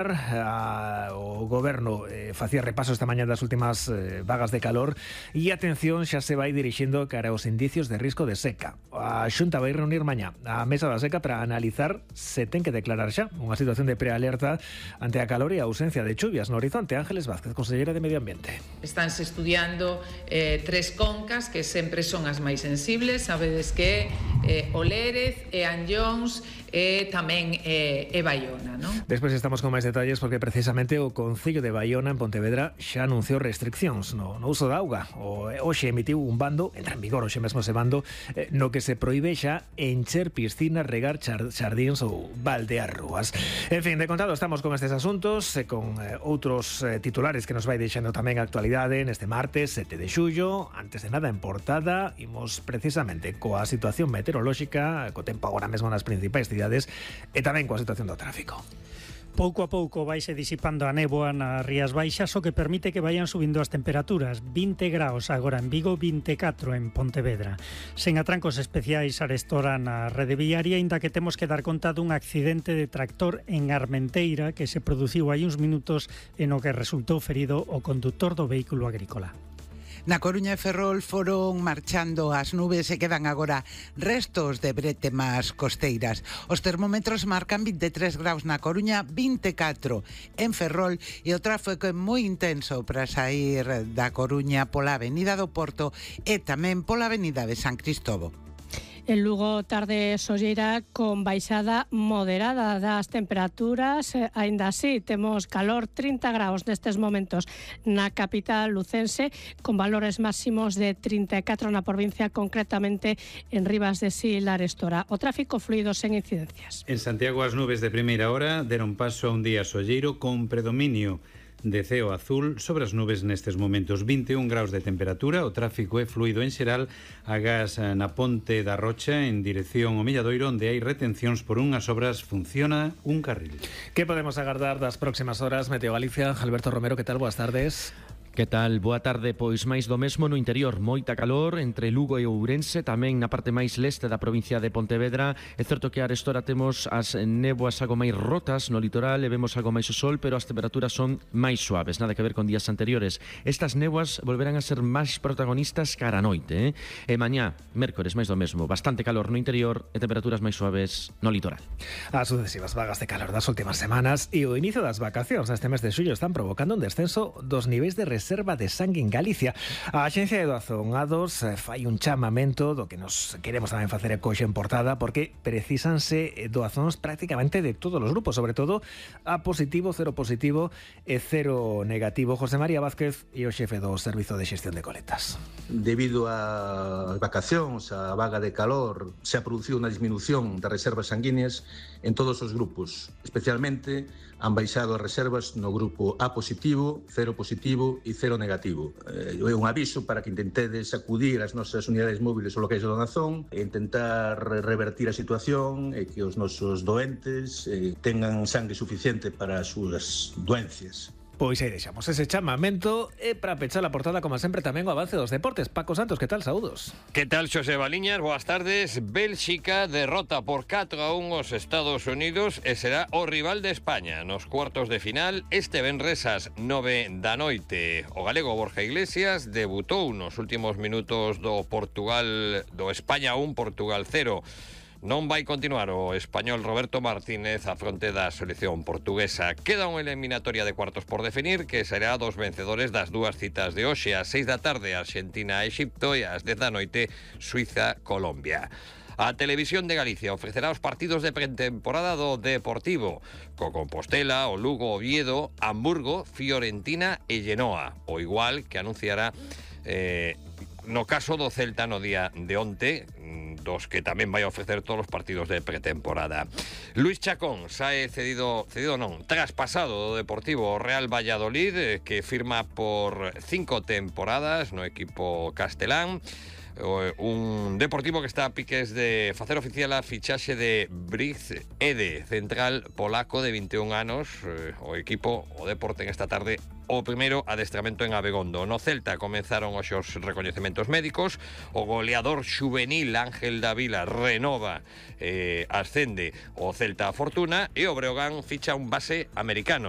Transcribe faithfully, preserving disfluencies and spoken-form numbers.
A, o Goberno eh, facía repaso esta mañá das últimas eh, vagas de calor e atención xa se vai dirixindo cara aos indicios de risco de seca. A Xunta vai reunir mañá a mesa da seca para analizar se ten que declarar xa unha situación de prealerta ante a calor e a ausencia de chuvias no horizonte. Ángeles Vázquez, consellera de Medio Ambiente. Estánse estudiando eh, tres concas que sempre son as máis sensibles. Sabedes que eh, o Lérez e Anllóns e tamén eh, e Baiona, non? Despois estamos con máis detalles porque precisamente o Concello de Baiona en Pontevedra xa anunciou restriccións no, no uso da auga. O, hoxe emitiu un bando, entra en vigor hoxe mesmo ese bando, eh, no que se proíbe xa encher piscinas, regar char, xardíns ou baldear rúas. En fin, de contado estamos con estes asuntos e con eh, outros eh, titulares que nos vai deixando tamén a actualidade neste martes sete de xullo. Antes de nada, en portada, imos precisamente coa situación meteorolóxica, co tempo agora mesmo nas principais cidades e tamén coa situación do tráfico. Pouco a pouco vaise disipando a néboa nas Rías Baixas, o que permite que vayan subindo as temperaturas. vinte graus agora en Vigo, vinte e catro en Pontevedra. Sen atrancos especiais arestora na rede viaria, aínda que temos que dar conta dun accidente de tractor en Armenteira que se produciu hai uns minutos e no que resultou ferido o condutor do vehículo agrícola. Na Coruña e Ferrol foron marchando as nubes e quedan agora restos de brétemas costeiras. Os termómetros marcan vinte e tres graus na Coruña, vinte e catro en Ferrol e o tráfico é moi intenso para sair da Coruña pola Avenida do Porto e tamén pola Avenida de San Cristobo. En Lugo, tarde solleira con baixada moderada das temperaturas. Aínda así, temos calor, trinta graus nestes momentos na capital lucense, con valores máximos de trinta e catro na provincia, concretamente en Rivas de Sil, Arestora. O tráfico fluido sen incidencias. En Santiago, as nubes de primeira hora deron paso a un día solleiro con predominio de ceo azul sobre as nubes nestes momentos. vinte e un graus de temperatura, o tráfico é fluido en xeral, agás na Ponte da Rocha en dirección ao Milladoiro, onde hai retencións por unhas obras, funciona un carril. Que podemos agardar das próximas horas? Meteo Galicia, Alberto Romero, que tal? Boas tardes. Que tal? Boa tarde, pois máis do mesmo no interior, moita calor entre Lugo e Ourense, tamén na parte máis leste da provincia de Pontevedra. É certo que a arestora temos as néboas algo máis rotas no litoral e vemos algo máis o sol, pero as temperaturas son máis suaves, nada que ver con días anteriores. Estas néboas volverán a ser máis protagonistas cara a noite, eh? E mañá, mércores, máis do mesmo, bastante calor no interior e temperaturas máis suaves no litoral. As sucesivas vagas de calor das últimas semanas e o inicio das vacacións neste mes de xullo están provocando un descenso dos niveis de reserva de sangue en Galicia. A Axencia de Doazón A dos fai un chamamento do que nos queremos tamén facer eco en portada, porque precisanse doazóns prácticamente de todos os grupos, sobre todo A positivo, cero positivo e cero negativo. José María Vázquez e o xefe do Servizo de Xestión de Coletas. Debido ás vacacións, a vaga de calor, se ha producido unha disminución das reservas sanguíneas en todos os grupos. Especialmente han baixado as reservas no grupo A positivo, cero positivo e cero negativo. É un aviso para que intentedes acudir ás nosas unidades móviles ou locais de donación e intentar revertir a situación e que os nosos doentes eh, tengan sangue suficiente para as súas doencias. Pois aí deixamos ese chamamento e para pechar a portada, como sempre, tamén o avance dos deportes. Paco Santos, que tal? Saúdos. Que tal, Xosé Baliñas? Boas tardes. Bélxica derrota por catro a un os Estados Unidos e será o rival de España nos cuartos de final este venres ás nove da noite. O galego Borja Iglesias debutou nos últimos minutos do Portugal, do España un, Portugal cero. Non vai continuar o español Roberto Martínez a fronte da selección portuguesa. Queda unha eliminatoria de cuartos por definir que será dos vencedores das dúas citas de hoxe. Ás seis da tarde Argentina-Exipto e ás dez da noite Suiza-Colombia. A Televisión de Galicia ofrecerá os partidos de pretemporada do Deportivo, co Compostela, o Lugo, Oviedo, Hamburgo, Fiorentina e Genoa, o igual que anunciará eh, no caso do Celta no día de onte, dos que tamén vai ofrecer todos os partidos de pretemporada. Luis Chacón sae cedido, cedido non, traspasado do Deportivo Real Valladolid, que firma por cinco temporadas no equipo castelán. Un Deportivo que está a piques de facer oficial a fichaxe de Briz Ede, central polaco de vinte e un anos. O equipo, o Deporte, en esta tarde o primeiro adestramento en Abegondo. No Celta comenzaron os seus recoñecementos médicos. O goleador xuvenil Ángel Davila renova, eh, ascende o Celta a Fortuna, e o Breogán ficha un base americano,